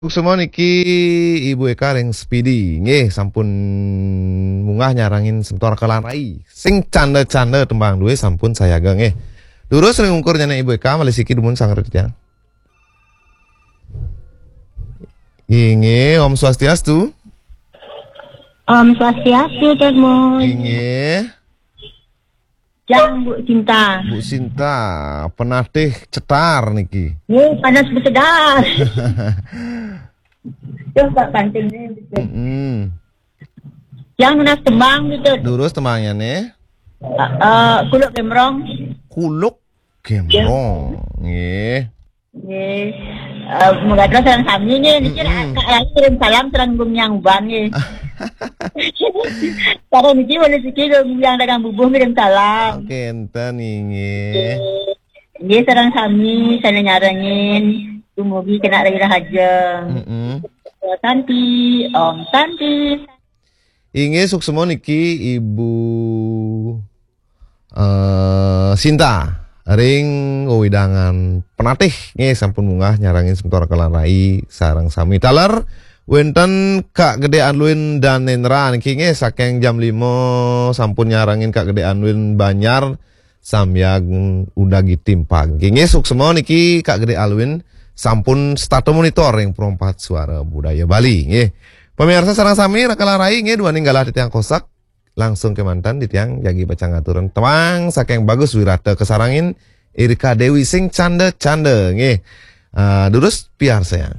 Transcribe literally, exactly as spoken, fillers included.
Suksma niki Ibu Eka ring Spidi. Nggih, sampun munggah nyarengin semeton Raka lan Rai. Sing canda-canda tembang dué sampun sayaga nggih. Durus ring ungkur nyané Ibu Eka, malih siki dumun sareng titiang. Inggih, Om Swastiastu. Om Swastiastu, Cek Mun. Inggih. Jang Bu Cinta. Bu Sinta, penatih cetar niki. Nggih, panas besedas. Tuh, Pak, pantingnya gitu. Mm-mm. Yang nunas tembang gitu. Durus tembangnya nih. Eh, eh, Kuluk Gembrong. Kuluk Gembrong. Nggih. Nggih. Eh, moga terus sareng sami nggih. Niki Mm-mm. Kak Rai kirim salam sareng Gung Yang Uban nggih. Sareng niki malih siki Gung Yang dagang bubuh ngirim salam. Oke, enten inggih. Nggih, sareng sami sané nyarengin. Dumugi kena rai rahaja. Mm-mm. Santi, Om Santi. Inggih, suksma niki Ibu eh, Sinta ring wewidangan Penatih nggih, sampun munggah nyarengin semeton Raka lan Rai sareng sami. Taler wénten Kak Gedé Alwin Danendra niki nggih, saking jam lima sampun nyarengin Kak Gedé Alwin Banjar sambiang udagi timpang. Nggih, suksma niki Kak Gedé Alwin sampun setata monitor ring Pro empat Suara Budaya Bali nggih. Pemirsa sareng sami, Raka lan Rai nggih, duaning galah titiang kosak, langsung kémanten titiang jagi pacang ngaturang tembang saking Bagus Wirata kasarengin Irika Dewi sing canda-canda nggih. Ah, durus piarsayang.